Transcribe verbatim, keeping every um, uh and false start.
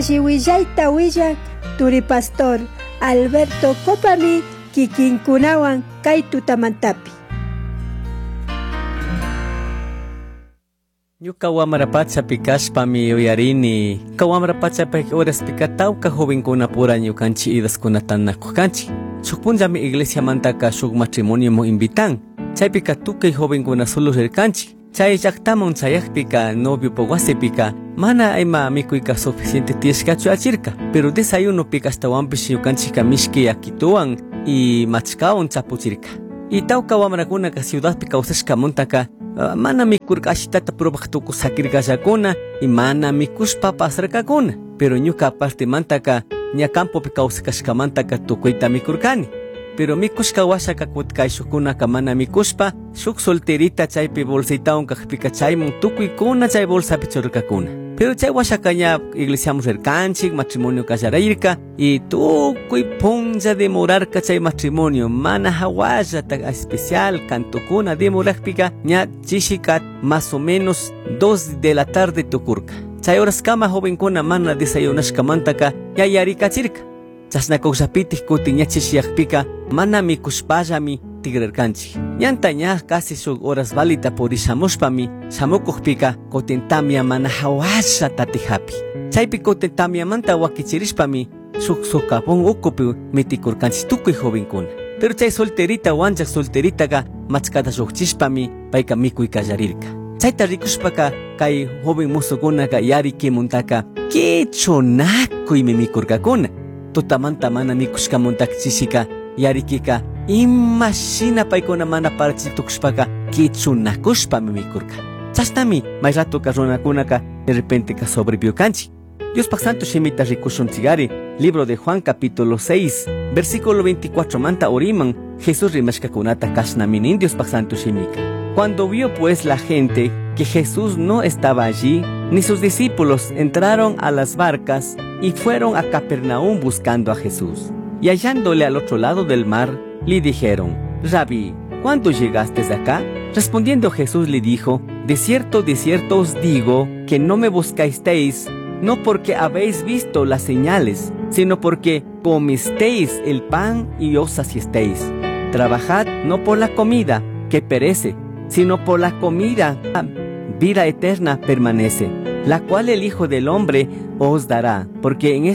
Alli willayta turi pastor Alberto Copami kikinkunawan kay tutamantapi. Ñuka wamra pachapi kashpami yuyarini ka wamra pachapi horaspika tawka jovenkunapura ñukanchik idaskunata nakukanchik. Shuk punllami iglesiamantaka shuk matrimonioman invitan. Chaypika tukuy jovenkuna solo rirkanchik. Chay llaqtaman chayaqpika noviopa wasipika mana ima mikuyka suficiente tiyashkachu achirka. Pero desayunopika ashtawanpish ñukanchikka mishki yakituwan y machkawan chapuchirka. Y tawka wamrakunaka ciudadpi kawsashkamantaka uh, mana mikurka ashitata probaq tukuy sakirkallakuna y mana mikushpa pasarkakuna. Pero ñuka partimantaka ña campopi kawsakashkamantaka tukuyta mikurkani. Pero mikushka washaka kutkayshukkunaka mana mikushpa shuk solterita chaypi bolsitawan kaqpika chayman tukuykuna chay bolsapi churarkakuna. Pero chay washaka ña iglesiaman rirkanchik, matrimonio kallarayirka y tukuy punlla demorarka chay matrimonio mana hawallata especial cantukuna demoraqpika ña chishika más o menos dos de la tarde tukurka. Chay horaskama jovenkuna mana desayunashkamantaka ña yarikachirka. Chashna kawsapitik kutin ña chishiyaqpika mana mikushpallami tigrarkanchik. Ñanta ña casi shuk horas valita purishamushpami shamukuqpika kutin tamya mana hawalla tatihapi. Chaypi kutin tamyamanta wakichirishpami shuk socavón ukupi mitikurkanchik tukuy jovenkuna. Pero chay solterita wanchaq solteritaka machkata lluqchishpami payka mikuy kallarirka. Chayta rikushpaka kay joven musukunaka yarikimuntaka kichunakuymi mikurkakuna. Tutamanta mana mikushkamuntaka chishika yarikika imashina paykuna mana parachitukushpaka kichunakushpami mikurka. Chashnami may ratuka runakunaka de repente ka sobrevivió-kanchik. Diospaq santo shimita rikushunchikari, libro de Juan capítulo seis, versículo veinticuatro manta oriman, Jesús rimashkakunata kashnami nin Diospaq santo shimika. Cuando vio pues la gente que Jesús no estaba allí, ni sus discípulos entraron a las barcas y fueron a Capernaum buscando a Jesús. Y hallándole al otro lado del mar, le dijeron: Rabí, ¿cuándo llegaste acá? Respondiendo Jesús le dijo: De cierto, de cierto os digo, que no me buscasteis, no porque habéis visto las señales, sino porque comisteis el pan y os saciasteis. Trabajad no por la comida que perece, sino por la comida vida eterna permanece, la cual el Hijo del Hombre os dará, porque en